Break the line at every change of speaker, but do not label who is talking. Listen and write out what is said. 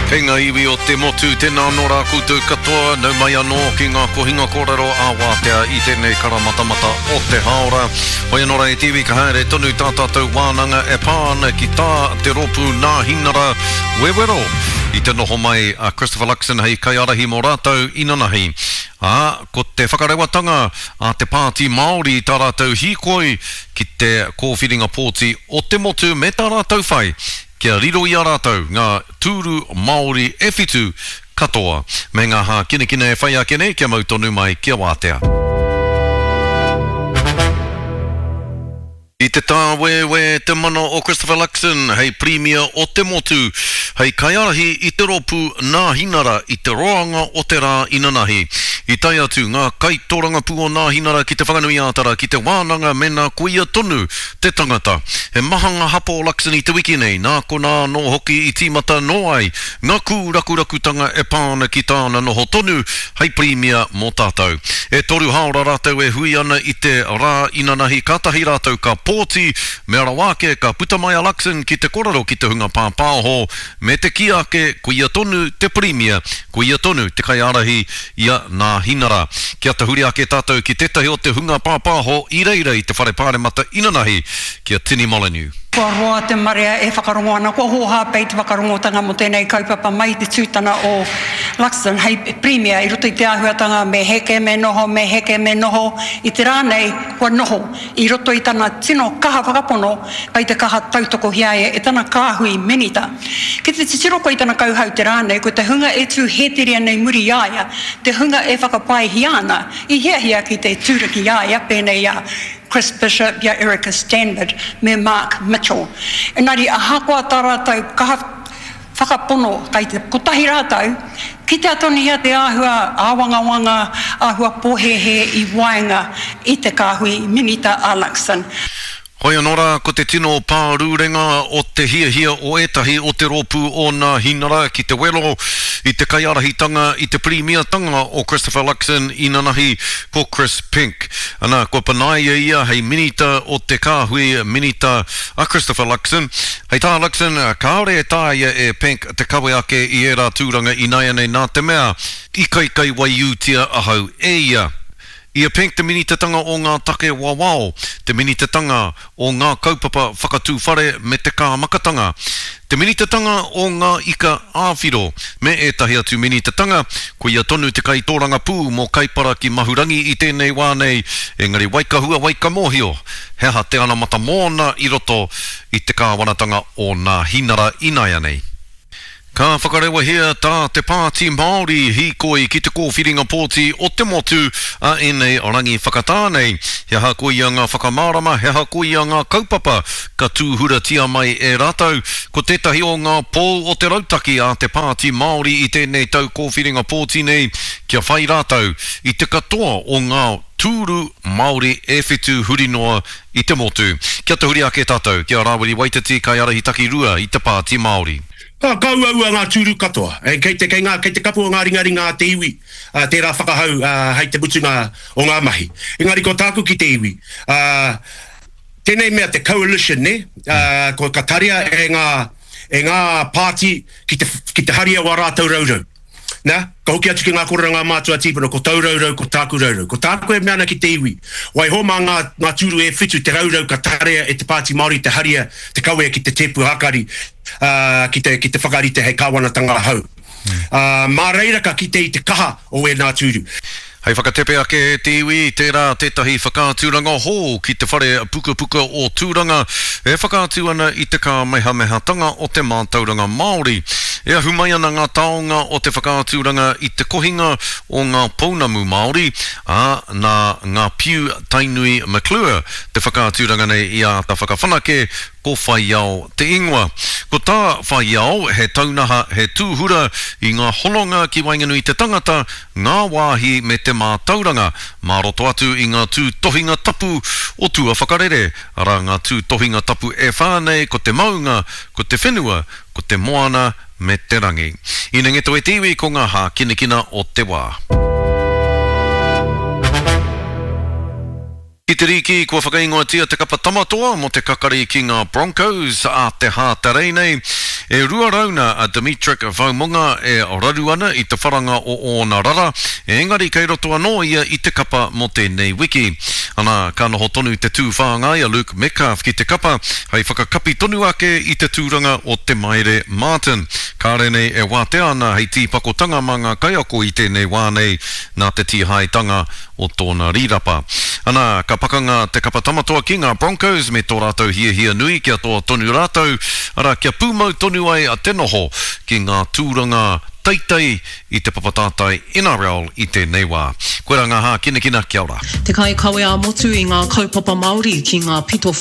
Kei ngā iwi o te motu, tēnā anō rā koutou katoa, nau mai anō ki ngā kohinga kōrero ā-wātea i tēnei karamatamata o te hāora. Hoi anō rā e te iwi, ka haere tonu tā tātou wānanga e pā ana ki tā te rōpū Nāhinara wewero i te noho mai a Christopher Luxon hei kaiārahi mō rātou inanahi. Ā, ko te whakarewatanga a te Pāti Māori i tā rātou hīkoi ki te kōwhiringa pōti o te motu me tā rātou whai kia riro i a rātou ngā tūru Māori e whitu katoa, me ngā hākinakina e whai ake nei kia mau tonu mai kia wātea. I te tāwēwē te mana o Christopher Luxon hei Pirimia o te motu, hei kaiārahi i te rōpū Nāhinara i te roanga o te rā inanahi. I tae atu ngā kaitōrangapū o Nāhinara ki Te Whanganui-ā-Tara ki te wānanga mēnā ko ia tonu te tangata. He maha ngā hapa o Luxon i te wiki nei, nā konā anō hoki i tīmata anō ai ngā kūrakurakutanga e pā ana ki tāna noho tonu hei Pirimia mō tātou. E toru hāora rātou e hui ana i te rā inanahi kātahi rātou ka pōti, mea rawa ake ka puta mai a Luxon ki te korero ki te hunga pāpāho me te kī ake ko ia tonu te Pirimia, ko ia tonu te kaiārahi i a Nāhinara. Kia tahuri ake tātou ki tētahi o te hunga pāpāho i reira i te Whare Pāremata inanahi, ki a Tini Molyneux.
Kua roa te marea e whakarongo ana, kua hōhā pea i te whakarongotanga mō tēnei kaupapa mai i te tūtana o Luxon hei Pirimia i roto i te āhuatanga me heke, me noho, me heke, me noho. I te rā nei, kua noho i roto i tana tino kaha whakapono kei te kaha tautokohia ia e tana kāhui minita. Ki te titiro koe i tana kauhau te rā nei, ko te hunga e tū hēteria nei muri i a ia, te hunga e whakapaehia ana, i hiahia ki te tūraki i a ia, pēnei i a Chris Bishop, i a Erica Stanford me Mark Mitchell. Engari ahakoa tā rātou kaha whakapono kei te kotahi rātou, kitea tonuhia te āhua āwangawanga, āhua pōhēhē i waenga i te kāhui Minita a Luxon.
Hoi anō rā, ko te tino pārurenga o te hiahia o ētahi o te rōpū o Nāhinara ki te wero i te kaiārahitanga i te pirīmiatanga o Christopher Luxon inanahi ko Chris Penk. Ana, kua panaia ia hei minita o te kāhui minita a Christopher Luxon. Hei tā Luxon, kāore e taea e Penk te kawe ake i ērā tūranga ināianei nā te mea i kaikaiwaiūtia ahau e ia. I a Penk te minitatanga o ngā take wawao, te minitatanga o ngā kaupapa whakatū whare me te kāmakatanga, te minitatanga o ngā ika ā-whiro, me ētahi atu minitatanga, koia tonu te kaitōrangapū mō Kaipara ki Mahurangi i tēnei wā nei, engari waikahua waikamōhio he aha te anamata mōna i roto i te kāwanatanga o Nāhinara inaianei. Ka whakarewahia tā te Pāti Māori hīkoi ki te kōwhiringa pōti o te motu a ēnei rangi whakatā nei. He aha koia ngā whakamārama, he aha koia ngā kaupapa ka tūhuratia mai e rātou? Ko tētahi o ngā pou o te rautaki a te Pāti Māori i tēnei tau kōwhiringa pōti nei kia whai rātou i te katoa o ngā tūru Māori e whitu huri noa i te motu. Kia tahuri ake tātou ki a Rāwiri Waititi, kaiārahi takirua i te Pāti Māori.
Ka ka uaua ngā tūru katoa. Kei te, kei ngā, kei te kapu o ngā ringaringa a te iwi tērā whakahau hei te mutunga o ngā mahi. Engari ko tāku ki te iwi, tēnei mea te coalition, nē, ko, ka tarea e ngā, e ngā pāti ki te, ki te haria wā rātou raurau. Na, ka hoki atu ki ngā kōrero a ngā mātua tīpuna, ko tau raurau, ko tāku raurau. Ko tāku e mea ana ki te iwi, waiho mā ngā, ngā tūru e whitu te raurau ka tarea e te Pāti Māori te haria, te kawea ki te tēpu hākari, ā, ki te, ki te whakarite hei kāwanatanga hou. Ā, mā reira ka kite i te kaha o ēnā tūru.
Hei whakatepe ake e te iwi, tērā tētahi whakaaturanga hou ki te whare pukapuka o Tūranga e whakaatu ana i te kāmehamehatanga o te mātauranga Māori. E ahu mai ana ngā taonga o te whakaaturanga i te kohinga o ngā pounamu Māori, ā, nā Ngā Piu Tainui McClure te whakaaturanga nei i āta whakawhanake, ko Whaiao te ingoa. Ko tā Whaiao, he taunaha, he tūhura i ngā hononga ki waenganui i te tangata, ngā wāhi me te mātauranga, mā roto atu i ngā tūtohinga tapu o tua whakarere, arā ngā tūtohinga tapu e whā nei ko te maunga, ko te whenua, ko te moana me te rangi. Inengeto e te iwi ko ngā hākinakina o te wā. Ki te rīki, kua whakaingoatia te kapa Tamatoa mō te kakari ki ngā Broncos a te Hātarei nei. E rua rauna a Demitric Vaomunga e raru ana i te wharanga o ōna rara, engari kei roto anō ia i te kapa mō tēnei wiki. Ana, ka noho tonu te tū whāngai a Luke Metcalf ki te kapa hei whakakapi tonu ake i te tūranga o Te Maire Martin. Kāre nei e wātea ana hei tīpakotanga mā ngā kaiako i tēnei wā nei nā te tīhaetanga o tōna rīrapa. Ana, ka pakanga te kapa Tamatoa ki ngā Broncos me tō rātou hiahia nui kia toa tonu rātou, arā, kia pūmau tonu ai te noho ki ngā tūranga teitei i te papa tātai NRL i tēnei wā. Koirā ngā hākinakina, kia ora.
Te kaikawe ā-motu i ngā kaupapa Māori ki ngā pito.